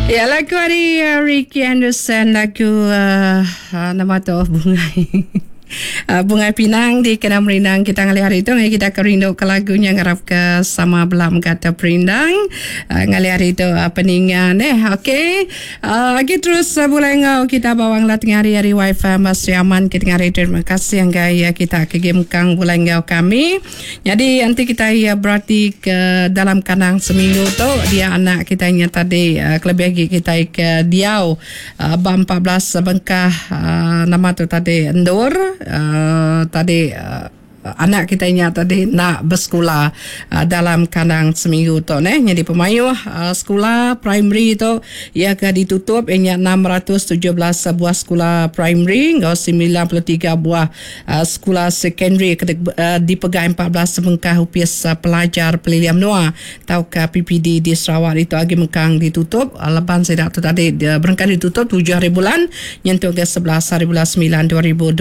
Ya lagu ari Ricky Anderson lagu uh, nama tu bungai. Uh, bungai Pinang di kena merindang kita ngalih hari tu ngai kita ke rindu ke lagu nya ngarap ke sama bela mega terperindang uh, ngalih hari tu uh, peninga neh okey uh, agi terus uh, bulai enggau kita bawang lah tengah hari hari wifi Mas Aman kita tengah hari terima kasih enggai uh, kita ke game kang bulai enggau kami. Nyadi enti kitai berati ke dalam kandang seminggu tu dia anak kitai nya tadi kelebih agi kitai ke diau ba 14 bengkah nama tu tadi endur tadi anak kitai nya tadi enda besekula dalam kandang seminggu tu neh. Nyadi pemayuh sekula primary tu Iya ke ditutup iya nya 617 buah sekula primary enggau 93 buah sekula sekondari ke dipegai 14 sebengkah Opis Pelajar Pelilih Menua tauka PPD di Sarawak ditu agi mengkang ditutup laban sida tu tadi berengkah ditutup tujuh hari bulan nyentuk ke 11 hari bulan semilan 2026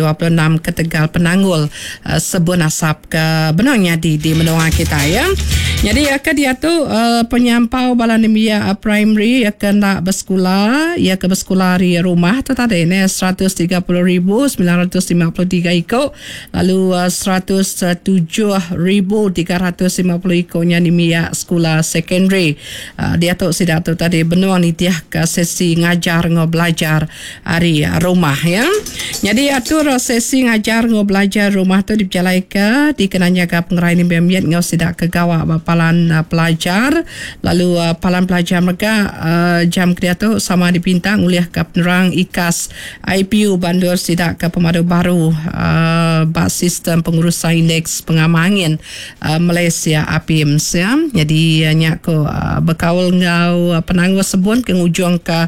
ketegal penanggul sebun asap ke benung nyadi di menua kitai ya. Nyadi ke diatu penyampau bala nembiak primary ke enda besekula iya ke besekula ari rumah tu tadi ne 130,953 iku lalu 107,350 iku nya nembiak sekula secondary. Diatu sida tu tadi benung nitihka sesi ngajar enggau belajar ari rumah ya. Nyadi atur sesi ngajar enggau belajar rumah tu dipejalaika dikena nyaga pengerai nembiak mit enggau sida ke gawa ba palan pelajar lalu palan pelajar mega jam ke diatu sama dipinta ngulihka penerang ikas IPU ba endur sida ke pemadu baru ba sistem pengurusan indeks pengamah angin Malaysia APIMS ya. Nyadi nya ku bekaul enggau penanggul sebun ke ngujungka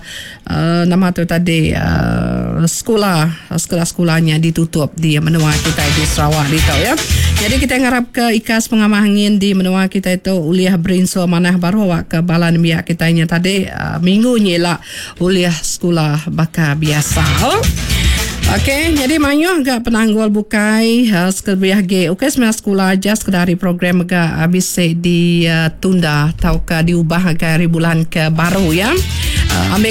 Nama tu tadi sekula sekula-sekula nya ditutup di menua kitai di Sarawak ditu ya. Jadi kitai ngarap ke ikas pengamah angin di menua kitai tu ulih berinsur manah baru awak ke bala nembiak kitai nya tadi minggu nya ila ulih sekula baka biasa. Okey, jadi mayuh ga penanggul bukai sekelebih agi ukai semina sekula aja sekeda ari program mega bisi ditunda tauka diubah ngagai hari bulan ke baru ya. Ambil.